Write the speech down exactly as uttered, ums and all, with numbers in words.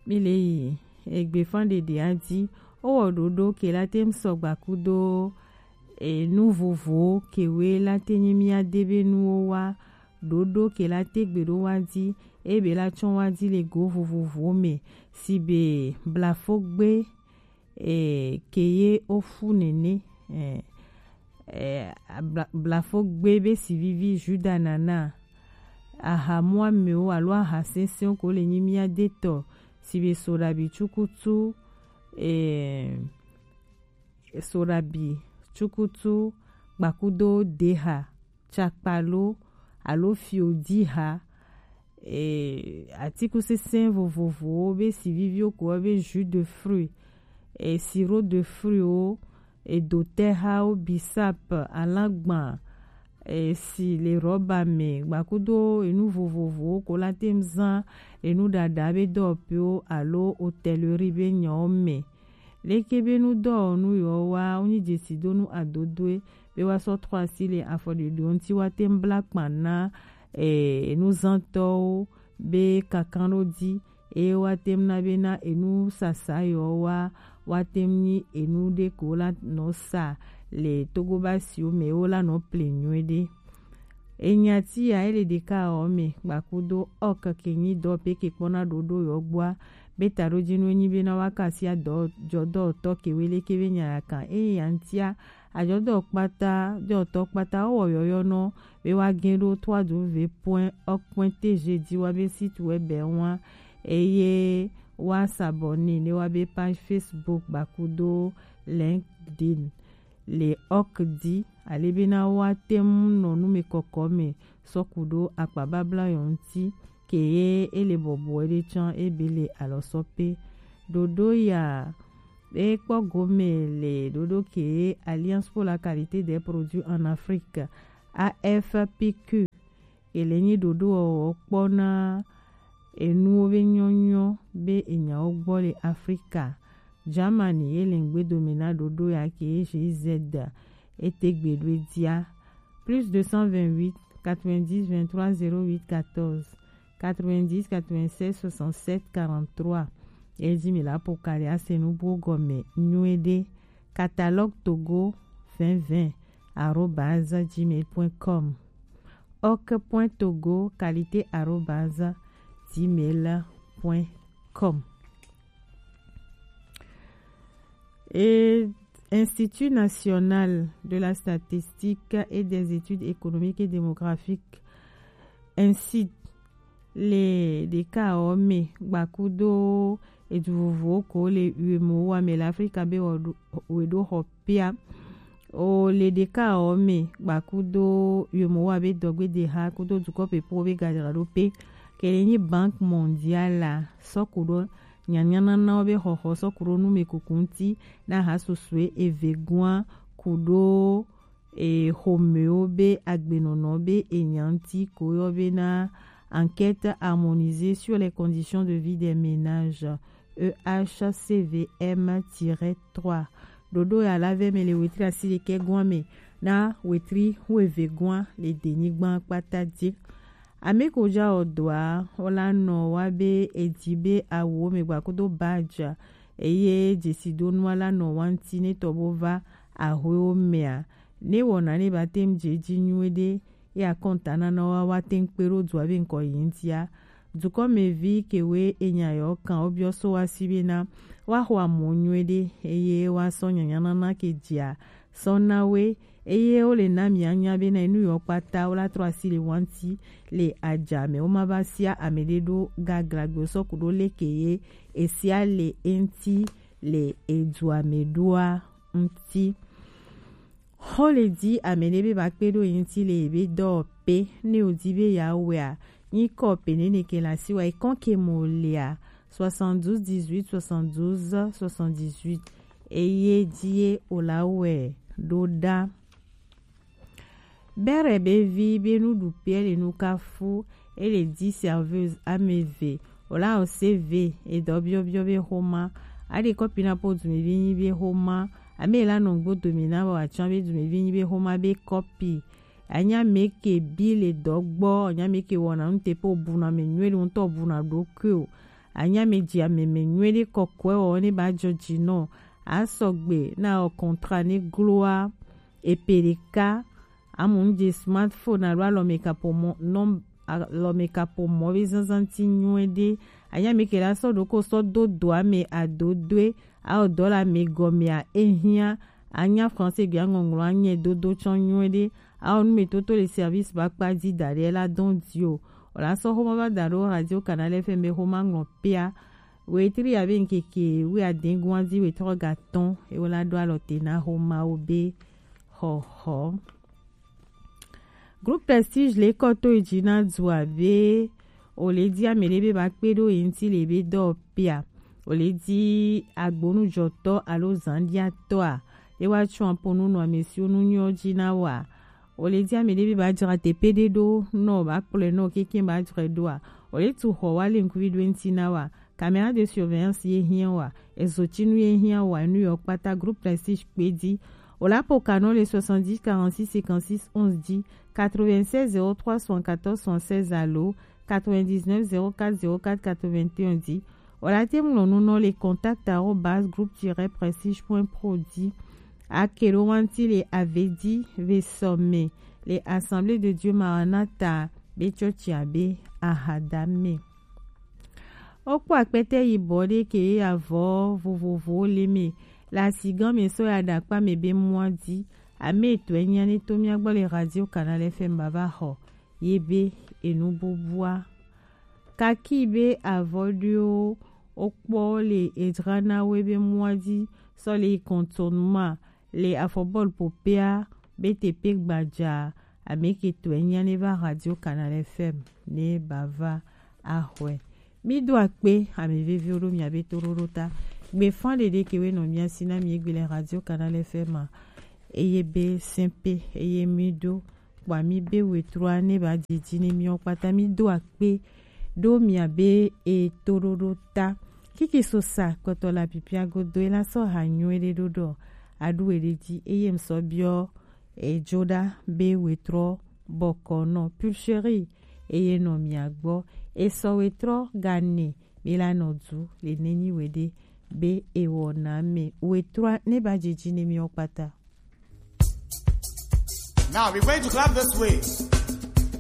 Mi le yi egbefa ɖeɖe a ji. Owɔ ɖoɖo ke la te ŋu sɔgba kudo enu vovowo ke we la te nyi mía de be nuwo wa. Ɖoɖo ke la te gbe ɖo wa ji, eye be la tsɔ wa ji le go vovovowo me, si be blafogbe, e, ke ye ofu nene, e, e, bla-, blafogbe be si vivi Juda nana, ahamuamewo alo aha sɛnsɛnwo ko le nyi mía de tɔ, si be soɖabi tsukutu, e, soɖabi tsukutu, gbakudo deha, tsakpalo alo fiodiha, e, atikusese vovovowo be si viviwo ko be jus de fruit, e, sirop de fruitwo, e, dotehawo, bisap, alagba, e, si le rɔba me, gbakudo enu vovovowo ko la te ŋu zã enu ɖaɖa be dɔwɔƒewo alo hotellerie be nyawo me. Leke be nudɔwɔnu yewo wa, wonyi jesidonu adodoe be woasɔ trɔ asi le afɔɖoɖo ŋuti, woate ŋu bla kpa na, e, enuzãtɔwo be kankanɖo ji, eye woate ŋu na bena enusasa yewo wa, woate ŋu nyi enu ɖe ko la nɔ sa le Togo basiwo me, wo la nɔ ple nyuiɖe. Enyati ya ele ɖeka ɔ me gbakudo ɔk ke nyi dɔ pe ke kpɔna ɖoɖo yɔ gbɔa, be taɖojinu enyi bena wa kasia dɔ jɔdɔtɔ ke we leke be nya ya kan eye ya ŋutia ajɔdɔ kpata, jɔtɔ kpata wo wɔ yɔyɔ nɔ be wa gɛn ɖo trois w point org point T G ji wa be site web wa, eye wa s'abonner ne wa be page Facebook gbakudo LinkedIn le org di, ale bena wa te ŋu nɔ nu me kɔkɔ me sɔ ku ɖo akpa babla yɔ ŋuti, ke ye ele bɔbɔe ɖe tsã ebe le alɔsɔ pe. Ɖoɖo ya e kpɔ gome le ɖoɖo ke Alliance pour la qualité des produits en Afrique, A F P Q, ele nyi ɖoɖo wɔwɔ kpɔ na enuwo be nyɔnyɔ be enyawo gbɔ le Afrika. Germany ye le ŋgbe dome na ɖoɖo ya ke ye G Z ete gbe ɖo edia. Plus deux cent vingt-huit, quatre-vingt-dix, vingt-trois, zéro huit, quatorze, quatre-vingt-dix, quatre-vingt-seize, soixante-sept, quarante-trois. Eji mi la po kali ase nubuwo gɔme nyuiɖe. Catalogue Togo vingt vingt arobase gmail point com. Ok point togo qualité arobase gmail point com. Et Institut national de la statistique et des études économiques et démographiques, ainsi le ɖeka ɔ me gbakudo edu vovowo ko le uemo wa me le Afrika be wɔ ɖo, we ɖo xɔ pia. O le ɖeka ɔ me gbakudo uemo wa be dɔgbe de ha kudo dukɔ pepo be gadzra ɖo pe. Ke le nyi Banque Mondiale la sɔ ku ɖo nyanyananawo be xɔxɔ sɔ ku ɖo nu me kuku ŋuti na ha susue eve gua ku ɖo e, xomewo be agbenɔnɔ be enya ŋuti ko yɔ be na Enquête harmonisée sur les conditions de vie des ménages, E H C V M tiret trois. Ɖoɖo ya la vɛ me le wetri asi ɖekɛ gɔn me na wetri wuieve gɔn le denyigban kpata ji. Ame ko ja ɔ dɔa, wo la nɔ wa be edi be awu me gba kudo badge, eye jesidonu la nɔ wa ŋuti ne tɔ bo va ahoewo mea. Ne wɔna ne ba te ŋu dze edzi nyuie ɖe, ye akɔntananawo wa te ŋu kpe ɖo dua be ŋkɔ yi ŋutia. Dukɔmevi kewoe enya yɔ kan wo biɔ so wa si be na wa xɔ amɔ nyuie ɖe, eye wa sɔ nyanyanana ke dzia sɔ na we, eye wo le na mia nya be na enu yɔ kpata wo la trɔ asi le wa ŋuti le adza me, wo ma va sia ame ɖe ɖo gaglagbe sɔ ku ɖo leke ye esia le eŋuti le edua me ɖoa ŋuti. Xɔ le di ame ɖe be ba kpe ɖo ye ŋuti le ye be dɔ pe ne o di be ya wea, nyi kɔ pe ne ne ke la si wa e kɔn ke mo lea, soixante-douze dix-huit soixante-douze soixante-dix-huit, eye di ye o la wɛ ɖo ɖa. Bere be vi be nuɖuƒe le nukafu, ele di serveuse ame eve, o la o C V, edɔ biɔbiɔ be xoma, aɖe kɔpi na po dumevi nyi be xoma, ame la nɔ ŋgbo dome na wa tsã be dumevi nyi be xoma be kɔpi. Anya me ke bi le dɔ gbɔ, anya me ke wɔna nu te po buna me nyuie ɖe ŋutɔ buna ɖokui o. Anya me ji ameme nyuie ɖe kɔkɔe wɔ ne ba jɔ ji nɔ. A sɔgbe na o contrat ne gloa epeleka. Amu nje smartphone alo alɔmekapo mɔ nɔ alɔmekapo mɔ be zanzan ti nyuie ɖe. Anya me ke la sɔ ɖoko sɔ do do ame adodoe. A o dɔ la me gɔmea ehia. Anya français gbia ŋɔŋlɔ anyɛ dodo tsɔ nyuie ɖe. A o nu me toto le service ba kpa di da ɖe la dɔn di o. O la sɔ xoma va da ɖo radio canal F M be xoma ŋlɔ pea. Wetri ya be ŋkeke wi adengun adi wetrɔ ga tɔn ewo la ɖo alɔ te na xoma wo be xɔxɔ. Groupe Prestige le kɔ to yi ji na du abe o le di ame ɖe be ba kpe ɖo yi ŋuti le be dɔ pea. O le di agbonujɔtɔ alo zandiatɔa e wa tso aponu nɔ ame siwo nu nyɔ ji na wa. O le di ame ɖe be ba dzra teƒe ɖe ɖo nɔ ba kplɔe nɔ keke ba dzrae ɖoa. O le tu xɔ wa le ŋkuvi ɖo ŋuti na wa. Caméra de surveillance ye hiã wa. Ezotinu ye hiã wa nu yɔ kpata groupe Prestige kpe di. O la po kanɔ le soixante-dix quarante-six cinquante-six onze di. Quatre-vingt-seize zéro trois soixante-quatorze soixante-seize alo quatre-vingt-dix-neuf zéro quatre zéro quatre quatre-vingt-un di. O la te ŋlɔ nu nɔ le contact arobase groupe tiret prestige point pro di. Ake ɖo wanti le avedi ve sɔme le Assemblée de Dieu Maranatha be tsɔtsia be ahadame. Wokpɔ akpɛtɛ yibɔ ɖe ke avɔ vovovowo le me le asigã me sɔ ya ɖe akpa me be mɔa di. Ame etɔ̃e nya ne to mía gbɔ le radio canal F M bava xɔ ye be enu bubua. Kaki be avɔ ɖewo wokpɔ le edzra na wo be mɔa di sɔ le yi contournement le afɔbɔl popea be tepe gbadza. Ame ke tɔe nya ne va radio canal F M ne bava axɔe. Mi do akpe ame veviwo ɖo mia be toɖoɖo ta. Gbefa ɖeɖe ke we nɔ mia si na mi egbe le radio canal F M a. Eye be sɛnpe eye mi do kpɔ mi be wetrua ne ba didi ne miɔ kpata mi do akpe ɖo mia be e toɖoɖo ta. Kiki so sa kpɔtɔ la pipia godo e la sɔ ha nyuie ɖe ɖo ɖɔ aɖu eɖe dzi eye ŋsɔ biɔ edzo ɖa be wetrɔ bɔkɔ nɔ pulcherie eye nɔ mia gbɔ esɔ wetrɔ gane mi la nɔ du le nenyi we ɖe be ewɔ na me wetrɔ ne ba didi ne miɔ kpata. Now we're going to clap this way.